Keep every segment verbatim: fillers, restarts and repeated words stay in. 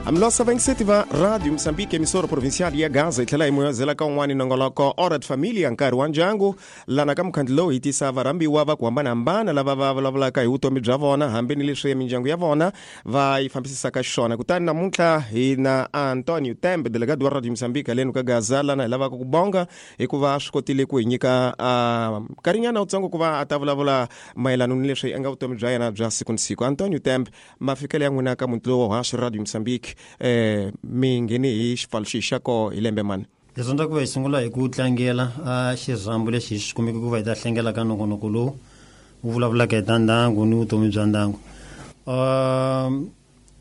Amlosa vinte e sete va Radio Moçambique, emissora provincial ya Gaza, yi tlhela yi moyazela ka un'wani nongoloko Hora de Familia, nkarhi wa ndyangu, lana ka mukhandlu lowu hi tisa varhambiwa va ku hambanahambana lava va vulavulaka hi vutomi bya vona hambi ni leswi mindyangu ya vona va yi fambisisaka xiswona. Kutani namuntlha hi na Antonio Tembe, delegado wa Radio Moçambique haleni ka Gaza, lana hi lavaka ku bonga hikuva swi kotile ku hi nyika uh, nkarhinyana wutsongo ku va a ta vulavula mayelana ni leswi nga vutomi bya yena bya siku ni siku. Antonio Tembe, mafikelo ya n'wina ka muti lowu wa haxo Radio Moçambique, eh mi ngheni hi xipfalo xi xa koho hi lembe mani? Hi rhandza ku va hi sungula hi ku tlangela a xirhambo lexi hi xi kumeke ku va hi ta hlengela ka nongonoko lowu wu vulavulaka hi ta ndyangu ni vutomi bya ndyangu. um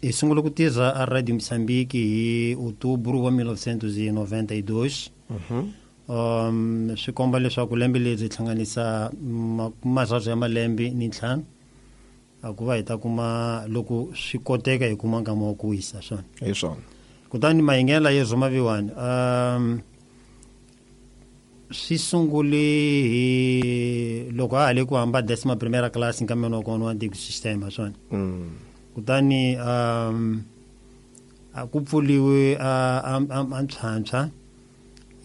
hi sungule ku tirha a Radio Moçambique hi outubro wa mil novecentos e noventa e dois. um swi komba leswaku lembe leri hi hlanganisa marharu ya malembe ni ntlhanu a ku va hi ta kuma loko swi koteka hi kuma nkama wa ku wisa swona. Hi swona. Kutani mahingela yo rhuma um swi sungule hi loko a ha le ku hamba décima primeira classe nkameni wa kona wa antigo sistema swona. mm. Kutani um a ku pfuliwe a a a ntlhantlha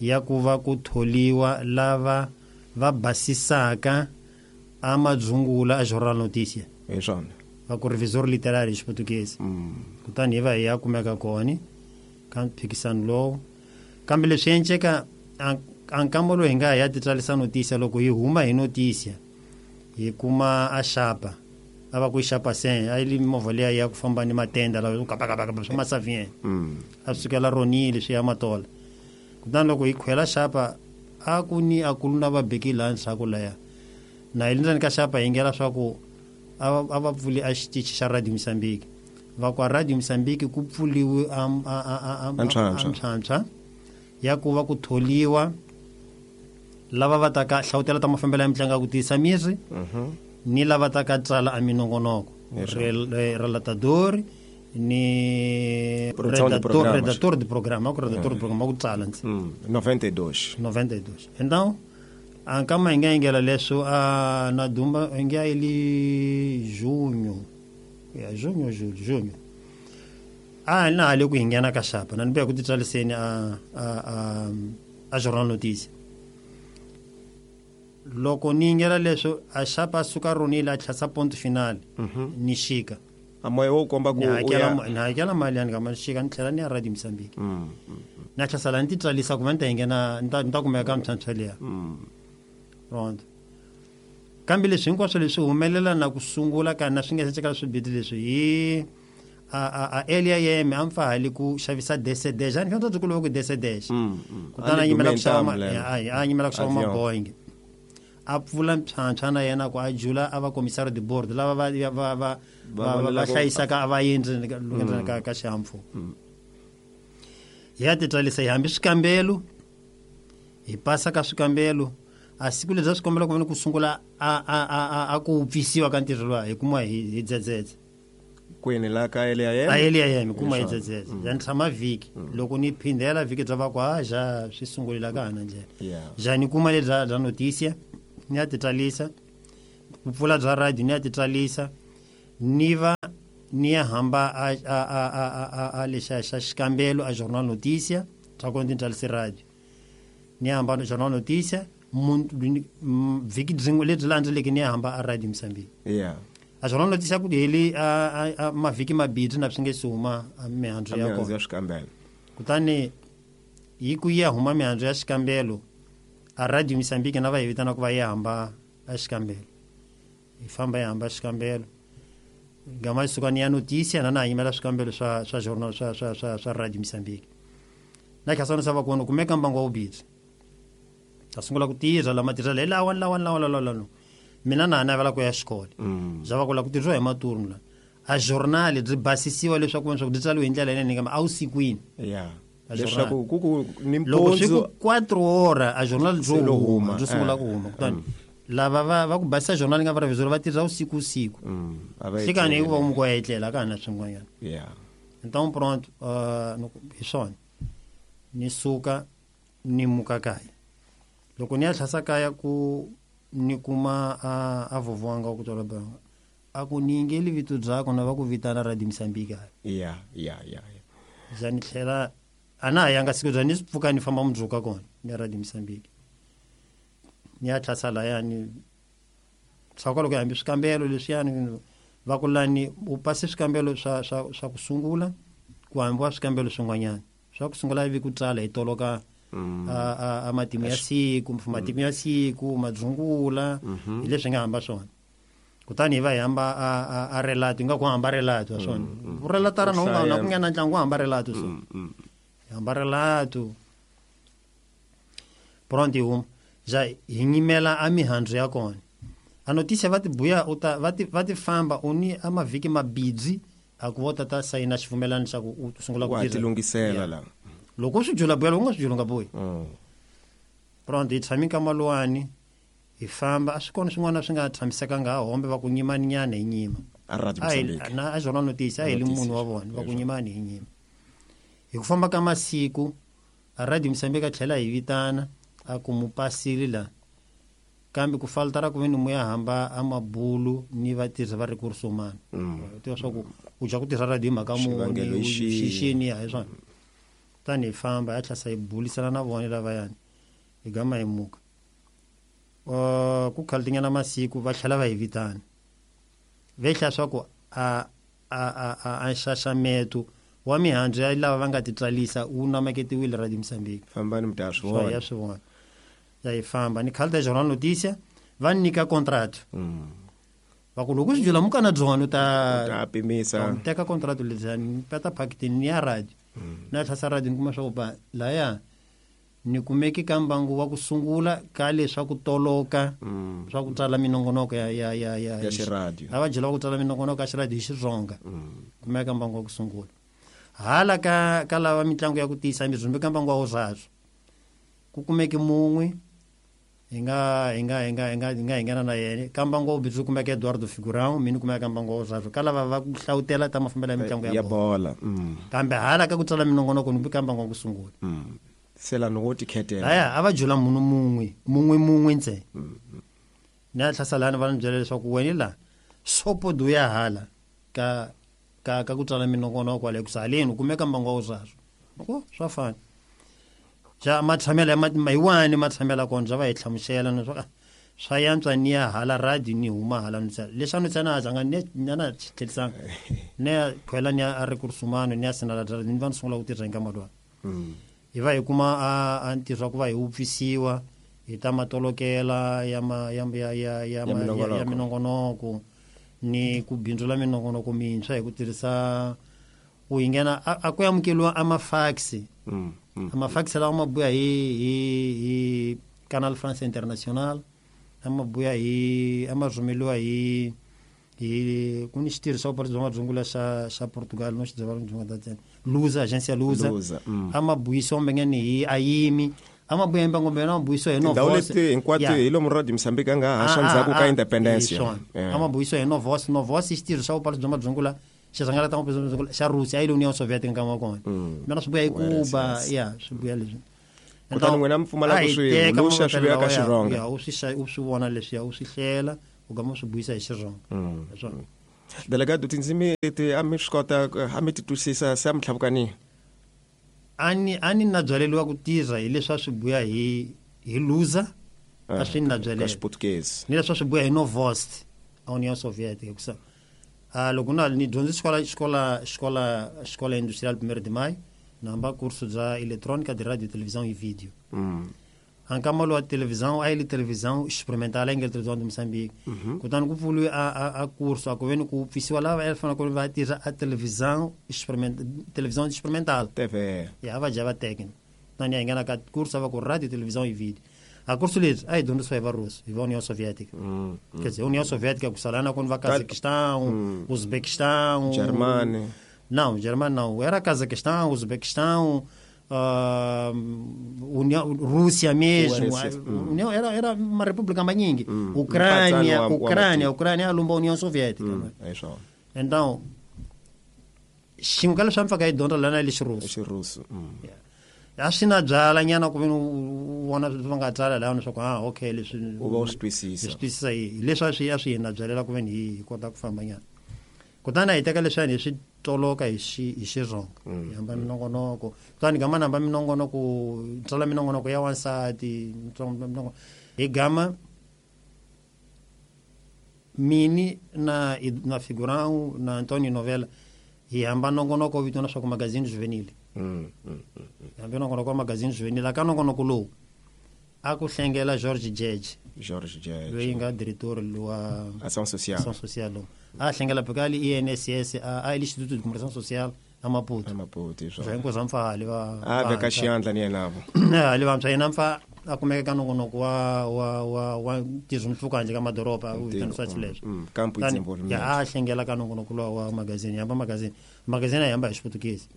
ya ku va ku tholiwa lava va basisaka a madzungula a Jornal Notícia. Hi swona. Va ku revisor literário hi Xiputukezi. mm. Kutani hi va hi ya kumeka kona ka mphikisano lowu, kambe leswi enceka a nkamba lowu hi nga ya titsarisa noticia, loko hi huma hi noticia hi kuma a xapa a va ku xapa sen a yi li movha liya ya ku famba ni matenda lawa kapakapaka swa masavien. Mm. A swi sukela ronile swi ya Matola. Kutani loko hi khwela xapa a ku ni a ku na va beki laha ndzhaku laya na hi le ndzeni ka xapa hi ngela swa ku a va a va pfuli a xitichi xa Radio Moçambique, va ku a Radio Moçambique ku pfuliwe a a a a A ntlhantlha. a ntlhantlha ya ku va ku tholiwa lava va ta ka hlawutela ta mafambelo ya mitlangu ya ku tiyisa miri Mhm. ni lava ta ka tsala a minongonoko. Yes. Rel- eh, relatador ni Produção de redator, programas. Redator de programa, ku redator de programa ku tsala ntsi. Mm. noventa e dois. noventa e dois. Então a nkama hi nga yingela leswo a na dumba hi nga ili junho ya junho, julho, junho a na ha le ku hi nghena ka xapa na ni buya ku titsaliseni a a a a Jornal Notícia. Loko ni yingela leswo a xapa a suka ronile a tlhasa ponto final ni xika. A moya wo komba ku ni u hakela ya ma- ni hakela mali yani kama ni xika ni tlhela ni ya Radio Moçambique. Mm. Na tlhasala ni titsarisa ku va ni ta yi nghena ni ta ni ta kumeka ka mintlhantlha liya. Mm. Pronto, kambe leswi hinkwaswo leswi humelela na ku sungula ka na swi nga se ceka swibiti leswi hi a a a Elia yeme a mfa hali ku xavisa D C D ani fanele ku ku D C D. Mm. Mm. Kutani a yimela ku xava ma- lelo. a a yimela ku xava Avion. Maboeing a pfula ntlhantlha na yena ku a jula a va commissaire de bord lava va va va va Va va va vonela ku- hlayisaka a va yendli ndzeni ka ka xihahampfhuka. Hi ya titsarisa hi hambi swikambelo hi pasa ka swikambelo a siku lebyi a swikombelo ku va ni ku sungula a a a a a ku pfisiwa ka ntirho luwa hi kuma hi hi dzedzedze. Kwini la ka Elia yena? A Elia yena hi kuma hi Hi swona. dzedzedze ya ni tshama vhiki loko ni phindela vhiki bya va ku ha ja swi sungulila ka hana ndlela. Yeah. Ja ni kuma lebya bya noticia ni ya titsarisa ku pfula bya radio ni ya titsarisa ni va ni ya hamba a a a a a a, a lexa xa xikambelo a Jornal Notícia swa ku ni tsarise radio ni ya hamba Jornal Notícia mun- mm, vhiki byin'we lebyi landzeleke ni ya hamba a Radio Moçambique. Yeah. A Jornal Notícia ku heli a, a, a mavhiki mabirhi na swi nge si huma a mihandzu ya Mihandzu kona. ya swikambelo. Kutani hi ku ya huma mihandzu ya xikambelo a Radio Moçambique na va hi vitana ku va yi hamba a xikambelo hi famba hi hamba xikambelo gama suka ni ya noticia na na yimela swikambelo swa swa journal swa swa swa swa Radio Moçambique na khasana sa va kona kumeka mbango wa vubisi ta sungula ku tirha lama tirha hi lawa lawa lawa lawa lawa mina na ha navela ku ya xikolo. Mm. Bya va ku la ku tirhiwa hi maturnu la a journal byi basisiwa leswaku leswaku byi tsariwe hi ndlela yinene kambe a wusikwini. Yeah. A Leswaku ku ku ni loko swi ku mpundzu quatro hora a journal Se byo lo huma huma, byo sungula eh. ku huma kutani lava va va ku basisa journal nga va revisor va tirha usiku usiku. Mm. A va hlekani etleli. hikuva muko ya etlela ka ha na swin'wanyana. Yeah. Então pronto, uh, no- hi swona ni suka ni muka kaya loko ni ya tlhasa kaya ku ni kuma a a vovho wanga wa ku twala banga a ku ni yingeli vito byakho na va ku vitana Radio Moçambique. Yeah, yeah, yeah. yeah. Za ni tlhela a na ha yanga siku bya ni swi pfuka ni famba mundzuku kona ni ya Radio Mozambique ni ya tlhasa layani swa kwalo ku hambi swikambelo leswiyani va ku lani u pase swikambelo swa swa swa ku sungula ku hambiwa swikambelo swin'wanyana swa ku sungula ivi ku tsala hi toloka a a a matimu ya siku matimu ya siku madzungula hi leswi nga hamba swona kutani hi va hi hamba a a a relato nga ku hamba relato wa swona u relatara na unga na ku nghena ntlangu wa hamba relato so hi hamba relato pronto huma ja hi nyimela a mihandzu ya kona a notícia va ti buya u ta va ti va ti famba u ni a mavhiki mabidzi a ku vo tata sayina xivumelano xa ku u sungula ku wa tirha tilunghisela la loko u swi jula buya loko u nga swi julanga buyi Mm. pronto hi tshami ka maluwani hi famba a swi kona swin'wana swi nga tshamisekanga ha hombe va ku nyimani nyana hi nyima a Radio A hi- Mozambique na a Jornal Notícia a hi li Notícia. munhu wa vona va ku nyimani hi nyima hi ku famba ka masiku a Radio Mozambique a tlhela hi vitana a ku mu pasile la kambe ku faltara ku ve ni mu ya hamba a mabulu ni vatirhi va recurso humano Mm. tiva swa ku u dya ku tirha radio hi mhaka Xivangelo muni hi xihi? xixini ya hi swona tani hi famba ya tlhasa hi bulisana na vona lavayani hi gama hi muka uh, ku khalitinyana masiku va tlhela va hi vitana ve hlaya swa ku a a a a a nxaxameto wa mihandzu ya lava va nga ti tswalisa wu namaketiwile Radio Mozambique fambani mi ta swi swa vona ya swi vona ya hi famba ni khalita Jornal Notícia va ni nyika contrato Mm. va ku loko u swi jula mukana byona u ta ta pimisa ni teka contrato lebyani ni peta phakitini ni ya radio na tlhasa radio ni kuma swa ku ba laya ni kumeki ka mbangu wa ku sungula ka leswa ku toloka Mm. swa ku tsala minongonoko ya ya ya ya Ya xiradio. a va byela ku tsala minongonoko ya xiradio hi Xitsonga Mm. kumeka mbangu wa ku sungula hala ka ka lava mitlangu ya ku tiyisa mizumbi ka mbangu wa wusaswo ku kumeke mun'we hi nga hi nga hi nga hi nga hi nga hi nghena na yena ka mbangu wa vubindzu kumeka Eduardo Figurão mina kumeka ka mbangu wa wusaswo ka lava va ku hlawutela ta mafambelo ya mitlangu ya ya bolo bola Mm. kambe hala ka ku tsala minongonoko ni ka mbangu wa ku sungula Mm. se la no tikhethela laya a va jula munhu mun'we mun'we mun'we ntsena ni ya tlhasa lani va ni byela leswaku wena la sopodo ya hala ka ka ka ku tsala minongonoko kwale ku haleni u kumeka mbangu wa wusaswo ko swa fana ja matshamelo ya ma hi wani matshamelo ya kona bya va hi hlamusela ni swa swa yantswa ni ya hala radio ni huma hala ni tsala leswi a ni tsana a zanga ni ni na tlhelisanga ni ya khwela ni ya a recurso humano ni ya sinala ni va ni sungula ku tirha hi nkamalwani Mm. hi va hi kuma a a ntirho wa ku va hi wupfisiwa hi ta matolokela ya ma ya ya ya ya Ya ma- ya- minongonoko. ya minongonoko ni ku bindzula minongonoko mintshwa hi ku tirhisa ku yi nghena a a ku amukeliwa a mafax Mm. Mm. a mafax lawa ma buya hi hi hi Canal France International a ma buya hi a ma rhumeliwa hi hi ku ni xitirhi xa vupari bya madzungula xa xa Portugal no xi byela dzunga ta Lusa agência Lusa Lusa, mm. a ma buyisiwa mbengeni hi ayimi a ma buya mbango mbena ma buyisiwa hi tindhawu Novos leti hinkwato hi lomu Radio Mozambique a nga haxa ndzhaku ka independence a ma buyisiwa hi Novos Novos i xitirhi xa vupari bya madzungula xi rhangalata ngopfu bya madzungula xa Russia a yi le Union Soviet nkama wa kona mina swi buya hi Cuba ya swi buya leswi Kutani n'wina mi pfumala ku swi huluxa swi vuya ka Xirhonga. ya u swi xa- u swi vona leswiya u swi hlela u gama u swi buyisa hi Xirhonga hi swona delegado tindzimi leti a mi swi kota a mi ti twisisa se a mi tlhavukanihi a ni a ni na byaleliwa ku tirha hi leswi a swi buya hi hi Lusa a swi ni na ka byalela xiputukezi ni leswi a swi buya hi Novost a Union Soviética hikusa a loko na ni dyondze xikola xikola xikola xikola industrial primeiro de maio na hamba curso bya eletrônica de rádio televisão e vídeo Mm. ankama lowa televisão a yi li televisão experimental a yi nga li televisão de Moçambique kutani ku pfuriwe a, a, a curso a ku ve ni ku pfisiwa lava a fanele ku va tirha a televisão experiment televisão experimental T V ya a va dya va teka kutani ya hi nghena ka curso a va ku radio televisão e vídeo a curso lebyi a hi dyondzisiwa hi varusi hi va União Soviética Mm. quer dizer União Soviética ku salana ku ni va Cazaquistão Uzbequistão Germany. não Germany não era Cazaquistão Uzbequistão ah, União Rússia mesmo U R S S, a- União era era uma república maningi Mm. Ucrânia Mpatsano wa- wa Ucrânia matiko. Ucrânia alumba União Soviética Mm. Hi swona então xin'we ka leswi a mi faka hi dyondza lana le xirusi xirusi Mm. a swi na byala nyana ku ve ni u vona va nga tsala laha leswaku ah okay leswi U va u swi hi twisisa swi twisisa hi leswi a swi a swi hi na byalela ku ve ni hi hi kota ku famba nyana kutani a hi teka leswiyani hi swi toloka hi xi hi Xirhonga hi hamba minongonoko kutani gama namba minongonoko tsala minongonoko ya wansati minongonoko hi gama mini na na Figurão na Antonio Novella hi hamba nongonoko vitana swa ku Magazine Juvenil mm, mm, mm. Hambi nongonoko wa Magazine Juvenil aka nongonoko lowu a ku hlengela George George George George loyi nga diretor wa Ação Social Ação Social a hlengela pekali I N S S a a Instituto de Comunicação Social a Maputo a Maputo isso hinkwaswo mpfa hali va a veka xiyandla ni yena vo hali vantshwa yena mpfa a kumeka ka nongonoko wa wa wa wa ntirho mpfhuka handle ka madoroba u vitanisiwa xileswo campo de desenvolvimento ya a hlengela ka nongonoko lowa wa magazini hamba magazini magazini a hamba hi Xiputukezi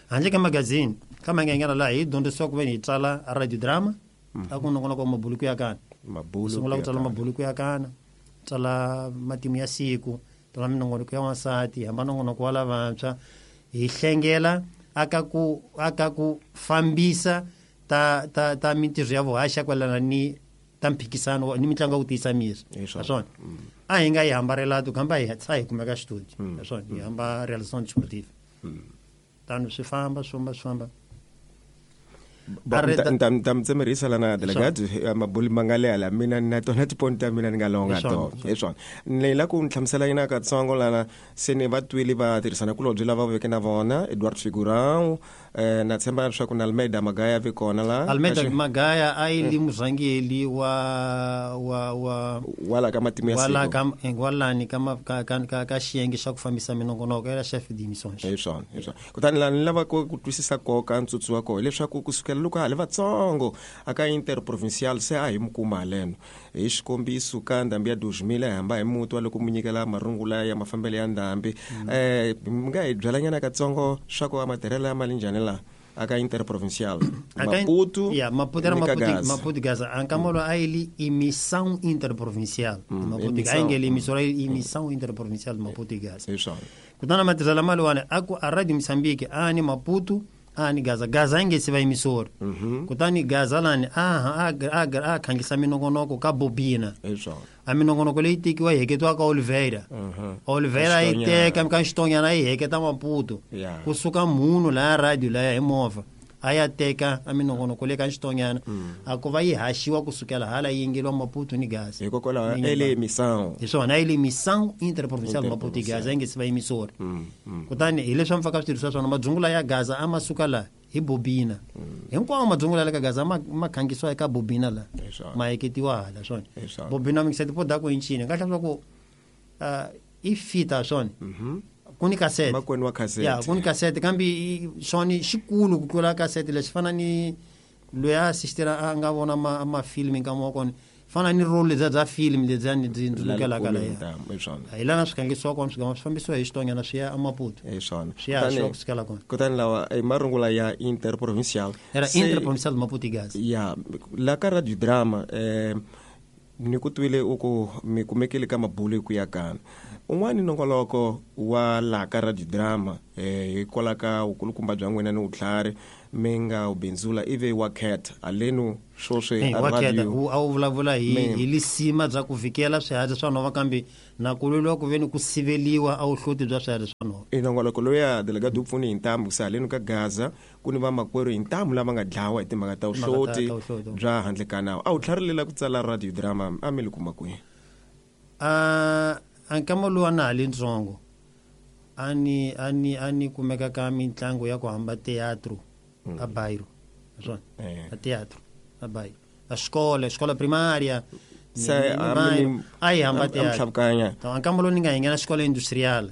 handle ka magazini ka mangengela laha hi dyondzisiwa ku ve ni hi tsala radio drama a ku nongonoko wa mabuluku ya kana mabulu sungula ku tsala mabuluku ya kana tsala matimu ya siku tsala minongonoko ya wansati hamba nongonoko wa lavantshwa hi hlengela aka ku aka ku fambisa ta ta ta mintirho ya vuhaxa kwalana ni ta mphikisano ni mitlangu ya ku tiyisa miri naswona a hi nga yi hambarela tu hamba hi tsa hi kumeka studio naswona hi hamba realisation sportive tano swi famba swi famba swi famba nta mi tsemerisa lana delegado mabuli ma nga leha la mina na tona tipoint ta mina ni nga longa to hi swona ni la ku ni hlamusela yina katsongo lana se ni va twile va tirhisana kulobye lava veke na vona Eduardo Figurão eh, na tshemba leswaku na Almeida Magaya vi kona la Almeida Magaya a yi li murhangeri wa wa wa wala ka matimu ya wala ka walani ka ka ka ka xiyenge xa ku fambisa minongonoko ya chef d'émission hi swona hi swona kutani la ni lava ku twisisa koka ntsutsu wa koho leswaku kusukela loko ha le vatsongo aka interprovincial se a hi mi kuma haleno hi xikombiso ka ndhambi ya dois mil hi hamba hi muti wa loko mu nyikela marungula ya mafambelo ya ndhambi eh mi nga hi byalanyana katsongo swa ku matirhelo ya mali njhani la aka interprovincial Maputo ya Maputo era Maputo Maputo Gaza ankamolo a ele emissão interprovincial Maputo a engele emissora emissão interprovincial Maputo Gaza isso kutana matirhelo mali wana aku a Radio Moçambique ani Maputo ani Gaza Gaza inge se va emissora mm-hmm. Kutani Gaza lani a a a khangisa minongonoko ka bobina isso a minongonoko leyi tekiwa yi heketiwa ka Oliveira uh-huh. Oliveira yi teka ka Xitonyana yi heketa Maputo yeah. kusuka munhu laya radio laya hi movha a ya teka a minongonoko leyi ka Xitonyana mm. a ku va yi haxiwa kusukela hala yi yingeliwa Maputo ni Gaza hikokwalaho ele emissão hi swona ele emissão interprovincial Maputo Gaza yi nge se va emissora mm. mm. kutani hi leswi a mi faka switirhisiwa swona madzungula ya Gaza a ma suka laha hi bobina hinkwawo madzungula ya le ka Gaza ma ma khangisiwa eka bobina la ma heketiwa hala swona bobina mi ngiseti poda ku incini nga hlamula ku uh, i fita swona ku ni kasete makwenu wa kasete ya ku ni kasete kambe swona xikulu ku tlula kasete lexi fana ni loyi a assistera a nga vona ma mafilmi nkama wa kona fana ni role lebyiya bya film lebyiya ni byi ndzukelaka laya hi lana swi khangisiwa kona swi gama swi fambisiwa hi Xitonyana swi ya eMaputo hi swona swi ya haxiwa kusukela kona kutani lawa i marungula ya interprovincial era interprovincial Maputo Gaza ya la ka radio drama eh ni ku twile u ku mi kumekile ka mabulu ku ya kana un'wani nongoloko wa la ka radio drama eh hikwalaho ka vukulukumba bya n'wina ni vutlhari mi nga wu bindzula ivi wa cat alenu swoswi a radio a wu vulavula hi hi lisima bya ku vikela swiharhi swa nhova kambe na ku lweliwa ku veni ku siveliwa a wuhloti bya swiharhi swa nhova i nongoloko loya delegado u pfuni hi ntamu kusa halenu ka Gaza ku ni vamakwerhu hi ntamu lava nga dlawa hi timhaka ta vuhloti bya handle ka nawu a wu tlharilela ku tsala radio drama a mi li kuma kwihi a ankama lowu a na ha le ntsongo a ni a ni a ni kumeka ka mitlangu ya ku hamba teatro mm. a bairro swona eh. a teatro a bairro a escola escola primária se a yi hamba teatro ankama lowu ni nga hi nghena escola industrial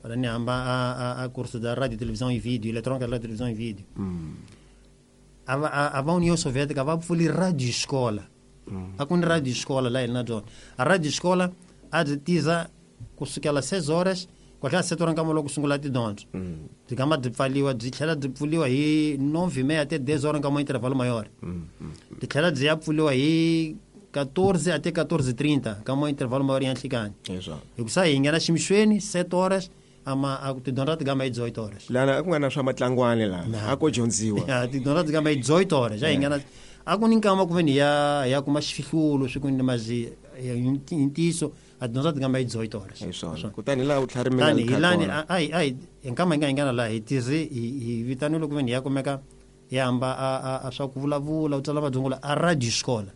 para ni hamba a a, a curso da rádio televisão e vídeo eletrônica da rádio televisão e vídeo mm. a a, a União Soviética va pfuli rádio escola mm. a ku ni rádio escola la hi na byona a rádio escola a byi tiza kusukela seis horas kwahla sete horas nkama loko sungula tidyondzo byi gama byi pfaliwa byi tlhela byi pfuliwa hi nove e meia até dez horas nkama intervalo maior byi tlhela byi ya pfuliwa hi quatorze até quatorze e trinta nkama intervalo maior ya nhlikani hikusa hi nghena ximixweni sete horas ama a tidyondzo ti gama hi dezoito horas lana a ku nga na swa matlangwani la a ko dyondziwa tidyondzo ti gama hi dezoito horas a hi nghena a ku ni nkama ku ve ni ya ya kuma xifihlulo swi ku ni mazi hi ntiyiso a dyondza tingamba hi dezoito horas. Hi swona. Kutani laha u tlharimela hi lani ai ai nkama hi nga hi ngana laha hi tirhi hi vitanile ku veni hi ya kumeka hi hamba a a swa ku vulavula u tsala madzungula a radio xikola.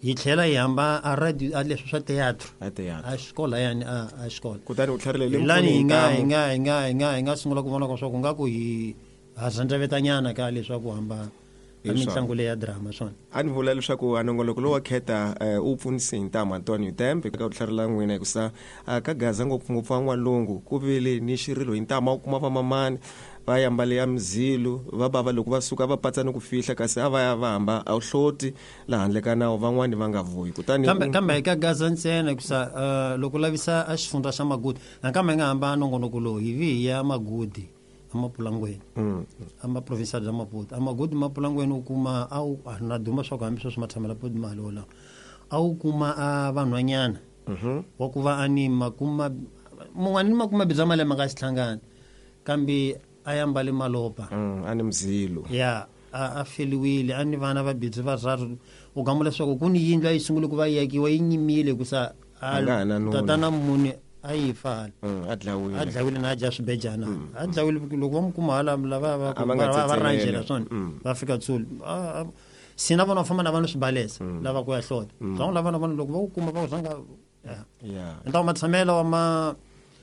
Hi tlhela hi hamba a radio a leswi swa teatro a teatro a xikola yani a a xikola. Kutani u tlharile lani hi nga hi nga hi nga hi nga hi nga sungula ku vona ka swa ku nga ku hi ha zandzavetanyana ka leswaku hamba a mitlangu leya drama swona. A ni vula leswaku a nongoloko lowu wa Khetha u pfunise hi ntamu Antonio Tembe ka ku tlharila n'wina hikusa ka Gaza ngopfungopfu wa N'walungu ku vile ni xirilo hi ntamu a wu kuma vamamani va yambale ya mzilu va bava loko va suka va patsa ni ku fihla kasi a va ya va hamba a wu hloti laha handle ka nawu van'wani va nga vuyi. Kutani kambe kambe ka Gaza ntsena hikusa loko lavisa a xifundza xa Magudi nakambe hi nga hamba nongonoko lowu hi vi hi ya Magudi amapulangweni ama provincial bya Maputo amagudi mapulangweni u kuma a wu na duma swa ku hambi sweswi matshamela podi mali wolawo a wu kuma a vanhwanyana wa ku va a ni makuma mun'wana ni makuma bya malembe nga xihlangana kambe a yambale malopa a ni mzilo ya a a feliwile a ni vana va bidzi vararu u gamula leswaku ku ni yindlu a yi sungule ku va yi akiwa yi nyimile hikusa tatana muni a yi fa hala a dlawile a dlawile na a dya swibejana a dlawile loko va mu kuma hala lava va va rangela swona va fika tsuli sina vona va famba na vanhu swibalesa lava ku ya hlota swa lava na vanhu loko va ku kuma va ku zanga ya ntawo matshamelo wa ma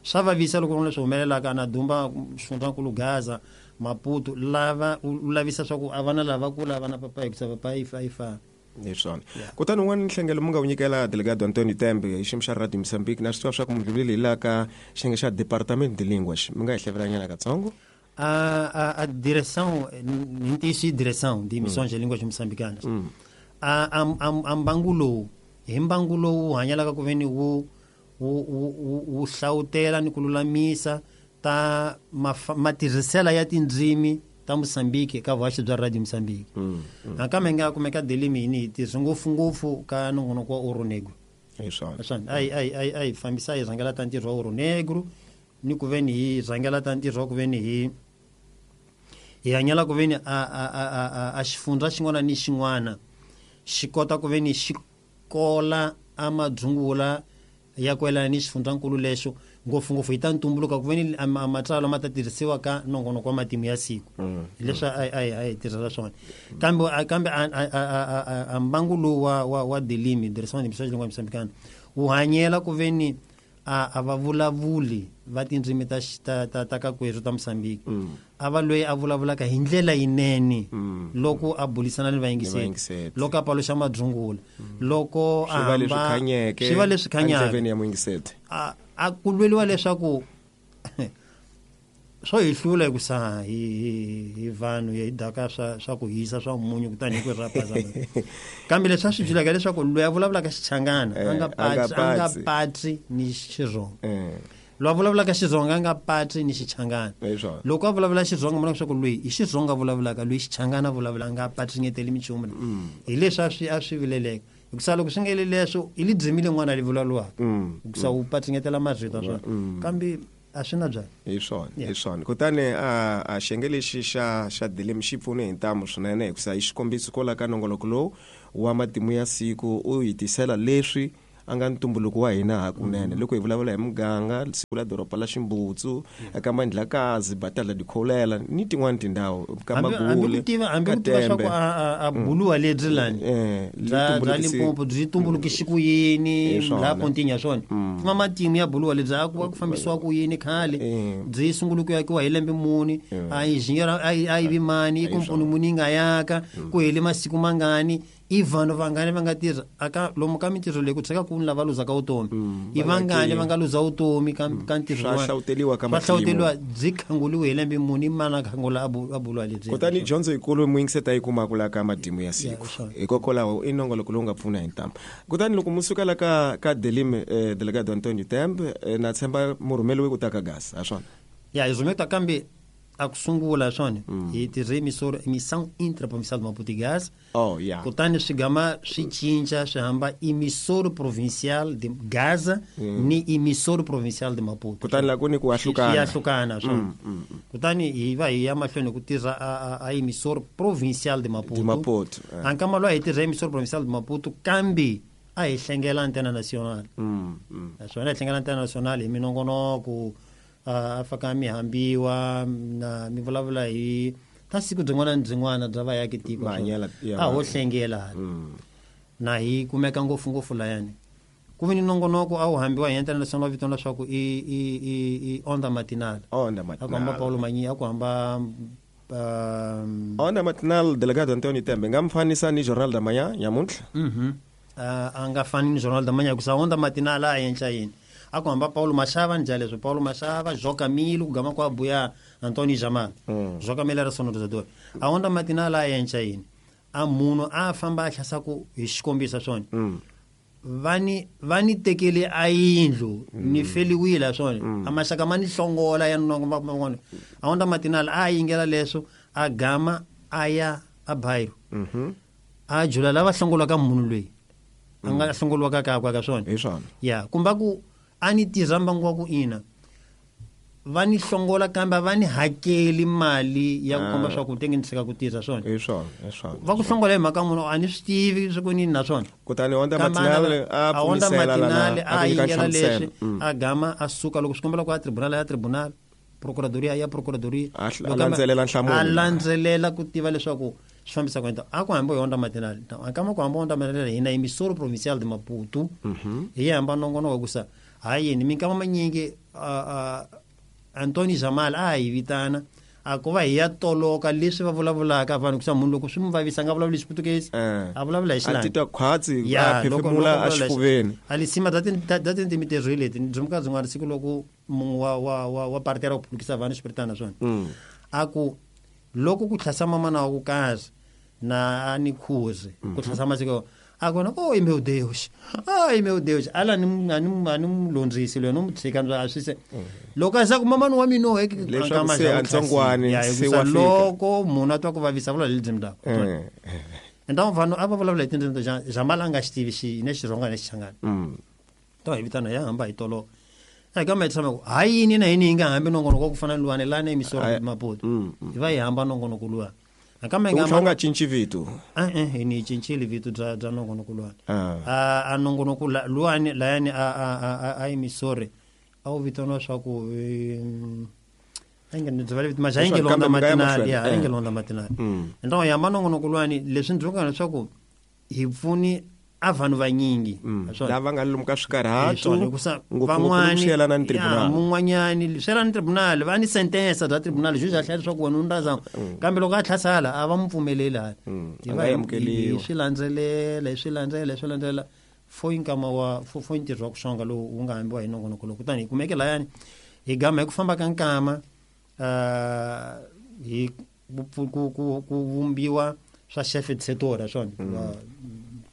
swa vavisa loko leswi humelelaka na dumba xifundzankulu Gaza Maputo lava u lavisa swa ku a vana lava ku lava na papa hikusa papa yi fa yi fa hi swona. Kutani un'wana nhlengelo mu nga wu nyikela delegado Antonio Tembe hi xiyimo xa Radio Mozambique na swi tiva swa ku mudlulile hi laha ka xiyenge xa Departamento de Línguas mi nga hi hlevelanyana katsongo. A a a direção hi ntiyiso i direção de emissões de línguas moçambicanas a a a mbangu lowu hi mbangu lowu hanyalaka ku veni wu wu wu wu hlawutela ni ku lulamisa ta matirhisela ya tindzimi ta Mozambique ka vuhaxi bya Radio Mozambique. Nakambe nga kumeka delimi yini hi tirhisa ngopfungopfu ka nongonoko wa Ouro Negro. Hi swona. Swona ai ai ai ai fambisa hi rhangela ta ntirho wa Ouro Negro ni ku veni hi rhangela ta ntirho wa ku veni hi hi hanyela ku veni a a a a a xifundza xin'wana ni xin'wana xi kota ku veni xi kola a madzungula ya ku yelana ni xifundzankulu lexo ngopfungopfu hi ta ntumbuluka ku veni a matsalwa ma ta tirhisiwa ka nongonoko wa matimu ya siku leswi a a a hi tirhela swona. Kambe kambe a mbangu lowu wa wa wa delimi direção de emissões de língua moçambicana wu hanyela ku veni a a va vulavuli va tindzimi ta ta ta ta kakwerhu ta Mozambique a va loyi a vulavulaka hi ndlela yinene loko a bulisana ni vayingiseri loko a paluxa madzungula loko a swi va leswi khanyeke swi va leswi khanyaka endleveni ya muyingiseri a a ku lweliwa leswaku swo hi hlula hikusa hi hi vanhu hi daka swa swa ku hisa swa munyu kutani hi ku rapaza kambe leswi a swi byelaka leswaku loyi a vulavulaka Xichangana a nga patsi a nga patsi ni Xitsonga loyi a vulavulaka Xitsonga a nga patsi ni Xichangana loko a vulavula Xitsonga mona leswaku loyi i Xitsonga a vulavulaka loyi Xichangana a vulavula a nga patsinyeteli minchumu hi leswi a swi a swi vileleka hikusa loko swi nga le leswo i li dzimile n'wana li vulavulaka hikusa u patsinyetela marito swona kambe a swi na byona. Hi swona hi swona. Kutani a a xiyenge lexi xa xa dilemi xi pfune hi ntamu swinene hikusa hi xikombiso kwala ka nongoloko lowu wa matimu ya siku u hi tisela leswi a nga ntumbuluko wa hina hakunene loko hi vulavula hi muganga siku la doroba la Ximbutsu eka Mandlakazi Batala Dikholela ni tin'wani tindhawu ka Magule hambi ku tiva swa ku a buluwa lebyi lani bya bya Limpopo byi tumbulukise ku yini laha Pontinya swona kuma matimu ya buluwa lebyi a ku va ku fambisiwa ku yini khale byi sungule ku yakiwa hi lembe muni a injiniyara a yi vi mani i komponi muni yi nga yaka ku hele masiku mangani i vanhu vangani va nga tirha aka lomu ka mintirho leyi ku tshika ku ni lava luzaka vutomi i vangani va nga luza vutomi ka ka ntirho swa hlawuteliwa ka matimu hlawuteliwa byi khanguliwe hi lembe muni mana khangula a buluwa lebyi. Kutani dyondzo yikulu muyingiseta yi kumaka la ka matimu ya siku hikokwalaho i nongoloko lowu nga pfuna hi ntamu. Kutani loko mu suka la ka ka Delime delegado Antonio Tembe na tshemba mu rhumeliwe ku ta ka Gaza ha swona ya hi rhumeta kambe A ku sungula swona hi tirhe emissora emissão interprovincial de Maputo e Gaza. Oh yeah. Kutani swi gama swi cinca swi hamba emissora provincial de Gaza mm. ni emissora provincial de Maputo. Kutani la ku ni ku ahlukana. Swi ahlukana swona. Mm, mm, mm. Kutani hi va hi ya mahlweni ku tirha a, a emissora provincial de Maputo. De Maputo. Eh. Ankama loyi hi tirha emissora provincial de Maputo kambe a hi hlengela antena nacional. Mm, mm. Naswona hi hlengela antena nacional hi minongonoko a faka mi hambiwa na mi vulavula hi ta siku byin'wana ni byin'wana bya vayaki tiko a ho hlengela na hi kumeka ngopfungopfu layani ku vi ni nongonoko a wu hambiwa hi antena nacional vitana leswaku i i i i onda matinal. Onda matinal. A ku hamba Paulo Manyi, a ku hamba um, onda matinal delegado Antonio Tembe nga mfanisa ni Jornal da Manhã nyamuntlha. Mhm. A nga fani ni Jornal da Manhã ku sa onda matinal a yenca yini. A ku hamba Paulo Machava njalezo Paulo Machava, João Camilo, gama ku abuya Antonio Jamal. Mm. João Camilo era sonorizador. A onda matinal a yenca yini. A munhu a famba a hlasa ku hi xikombiso swona. Mm. Vani vani tekele a yindlu mm. ni feliwile swona. Mm. A maxaka ma ni hlongola ya nongo. A onda matinal a yingela leswo a gama a ya a bairo. Mhm. A jula lava hlongolaka munhu loyi. A nga hlongolwaka ka ka swona. Hi swona. Ya, kumba ku a ni tirha mbangu wa ku ina va ni hlongola kambe va ni hakeli mali ya ku komba swa ku tenge ni tshika ku tirha swona. Hi swona, hi swona. Va ku hlongola hi mhaka munhu a ni swi tivi swa ku nini na swona. Kutani onda matinale a pfumisela lana a yingela leswi a gama a suka loko swi kombela ku ya tribunal ya tribunal procuradoria ya procuradoria a landzelela nhlamulo a landzelela ku tiva leswaku swi fambisa ku endla a ku hamba hi onda matinale a kama ku hamba onda matinale hina emissora provincial de Maputo hi hamba nongonoko ku sa hayi ni minkama manyingi Antonio Jamal a hi vitana a ku va hi ya toloka leswi va vulavulaka vanhu ku sa munhu loko swi mu vavisa nga vulavuli Xiputukezi a vulavula hi Xilani a titwa khwatsi a phefemula a xifuveni a lisima da da tindzimi leti byi byin'wana siku loko munhu wa wa wa wa partera ku phulukisa vanhu xipiritana swona a ku loko ku tlhasa mamana wa ku kazi na a ni khuzi ku tlhasa masiko a ku na oh meu Deus ai meu Deus ala ni ni ni mulondzisi loyi no mu tshika a swi se loko a sa ku mamana wa mina he leswaku se a ntsongwani se wa fika loko munhu a twa ku vavisa vula hi tindzimi takwe enta vanhu a va vulavula hi tindzimi ta Jamal a nga xi tivi xi ne Xitsonga ne Xichangani to hi vitana ya hamba hi tolo a ka ma tshama ku ha yini na yini hi nga hambi nongonoko ku fana luwani lana emissora Maputo hi va hi hamba nongonoko luwa Akama nga nga cinci vito eh eh ni cincile vito bya bya nongonoko luwani a a nongonoko luwani layani a a a emissore a wu vitaniwa swa ku ainge ndzi vale vito maxa ainge londa matinali ya ainge londa matinali ento ya manongonoko luwani leswi ndzi vona leswaku hi pfuni a vanhu vanyingi lava nga lomu ka swikarhato van'wani swi yelana ni tribunal mun'wanyani swi yelana ni tribunal va ni sentensa bya tribunal juju a hlaya leswaku wena u ndaza kambe loko a tlhasala a va mu pfumeleli hala hi va hi swi landzelela hi swi landzelela hi swi landzelela fo nkama wa fo fo ntirho wa ku xonga lowu wu nga hambiwa hi nongonoko lowu kutani hi kumeke layani hi gama hi ku famba ka nkama hi ku ku ku vumbiwa swa chef de secteur swona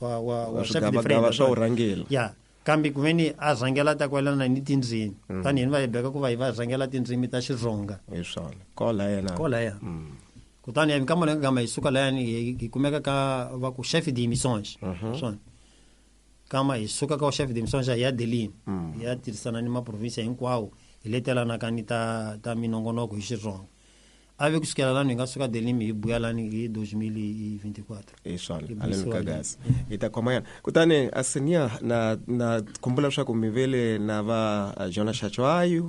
wa wa wa chef de frame swa urhangela ya kambe ku veni a rhangela ta kwalana ni tindzimi tanihi va hi beka ku va hi va rhangela tindzimi ta Xitsonga hi swona kola yena kola ya kutani hi nkama leyi gama hi suka layani hi kumeka ka va ku chef de émissions swona kama hi suka ka chef de émissions ya Delin ya tirhisana ni maprovinsia hinkwawo hi letelanaka ni ta ta minongonoko hi Xitsonga a ve kusukela lani hi nga suka Delin hi buya lani hi deux mille vingt-quatre hi swona aleni ka gas hi ta khoma yana kutani asinia na na khumbula leswaku mi vele na va Jonas Chachwayo